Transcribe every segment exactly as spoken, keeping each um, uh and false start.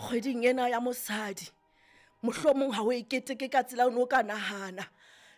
Kgweding ena ya mosadi, mohlomong ha o e keteke ka tsela o no ka nahana,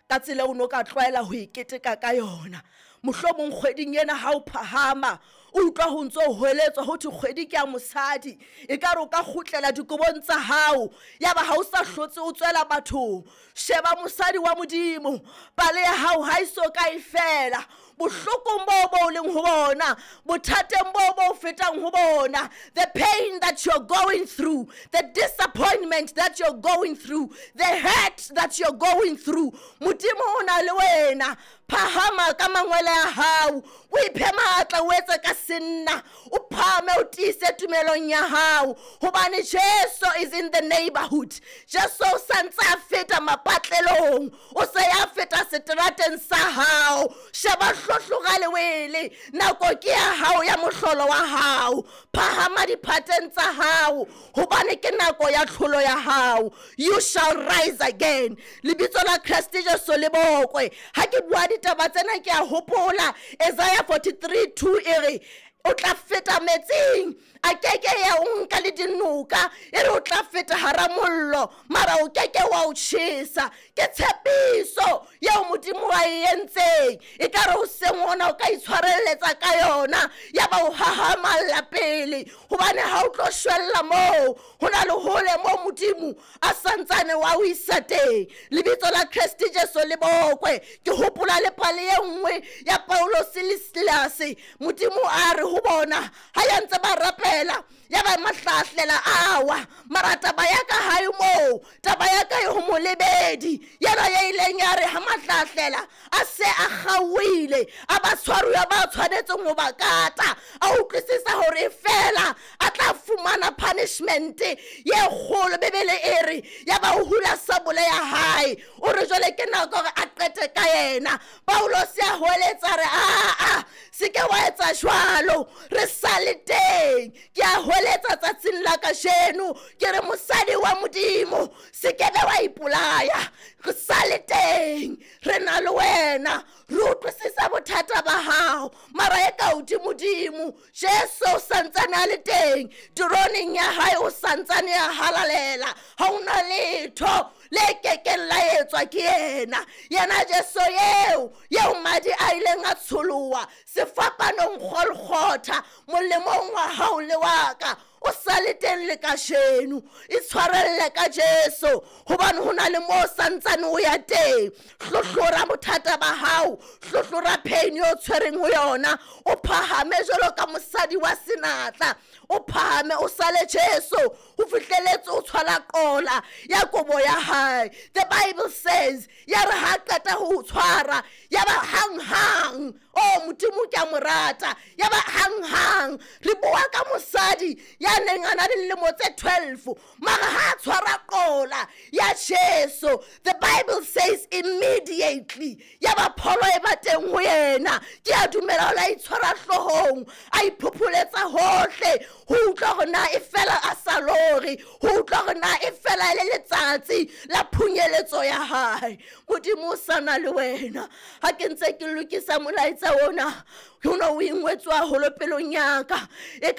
ka tsela o no ka tlwaela ho e keteka ka yona. Mohlomong kgweding ena ha o phahama o utlwa ho ntso hweletswa ho thwe kgwedi ke ya mosadi, ekare o ka kgutlela dikobong tsa hao, yaba ha o sa hlotse o tswela bathong. Sheba mosadi wa Modimo, pale ya hao ha e so ka e fela. Bohlokong bo bo leng ho bona, bothateng bo bo fetang ho bona, the pain that you're going through, the disappointment that you're going through, the hurt that you're going through, Modimo o na le wena. Phahama ka mangwele a hao, o iphe matla, o etse ka senna, o phahame, o tiise tumelong ya hao, hobane Jesu is in the neighborhood. Jesu o santse a feta mapatlelong, o se ya feta seterateng sa hao. Sheba hlohloga lewele, nako ke ya hao ya mohlolo wa hao. Phahama diphateng tsa hao, hobane ke nako ya tlholo ya hao. You shall rise again. Lebitso la Kreste Jesu le bokwe. Ha ke bua ditaba tsena ke a hopola Isaiah forty-three two e re o tla feta metsing, a keke ya o nka le dinoka, e re o tla feta hara mollo, mara o keke wa o tjhesa. Ke tshepiso eo Modimo a e entseng, ekare o seng ona o ka itshwarelletsa ka yona, ya ba o hahamalla pele, hobane ha o tlo shwella moo, ho na le hole moo Modimo a santsane wa o isa teng. Lebitso la Kreste Jesu le bokwe. Ke hopola le pale e nngwe ya Paulos le Silas. Modimo a re ho bona ha ya ntse ba rapela, ya ba mahlahlela awa, mara taba ya ka hae moo, taba ya ka e ho molebedi yena ya ileng ya re ha mahlahlela a se a kgaohile, a ba tshwaruwa ba tshwanetseng ho ba kata, a utlwisisa hore fela a tla fumana punishment ye kgolo. Bibele e re ya ba o hula sabole ya hae, o re jwale ke nako hore a qete ka yena. Paulos a hweletsa re a a se ke wa etsa jwalo, re sa le teng. Ke a hweletsa tsatsing la kajeno, ke re mosadi wa Modimo, se ke be wa ipolaya, re sa le teng, re na le wena, re utlwisisa bothata ba hao, mara e ka hodimodimo Jesu o santsane a le teng, teroneng ya hae o santsane a halalela, ha hona letho le kekeng la etswa ke yena. Yena Jesu eo, eo madi a ileng a tsholoha sefapanong Golgotha, molemong wa hao le wa ka, o sa le teng le kajeno. Itshwarelle ka Jesu, hobane ho na le moo santsane o ya teng. Hlohlora bothata ba hao, hlohlora pain eo tshwereng ho yona, o phahame jwalo ka mosadi wa senatla, o phahame o sale Jesu ho fihleletse o tshwala qola ya kobo ya hae. The Bible says ya re ha qeta ho tshwara, ya ba hang hang, oh Modimo ke a mo rata, ya ba hang hang. Re bua ka mosadi ya neng a na le dilemo tse twelve, mara ha tshwara qola ya Jesu, the Bible says immediately ya ba pholo e ba teng ho yena. Ke a dumela o la itshwara hloohong, a iphopholetsa hohle, ho utlwa hore na e fela a sa lore, ho utlwa hore na e fela e le letsatsi la phunyeletso ya hae. Modimo o sa na le wena. Ha ke ntse ke lokisa molaetsa ona, ho no o ingwetswe haholo pelong ya ka. E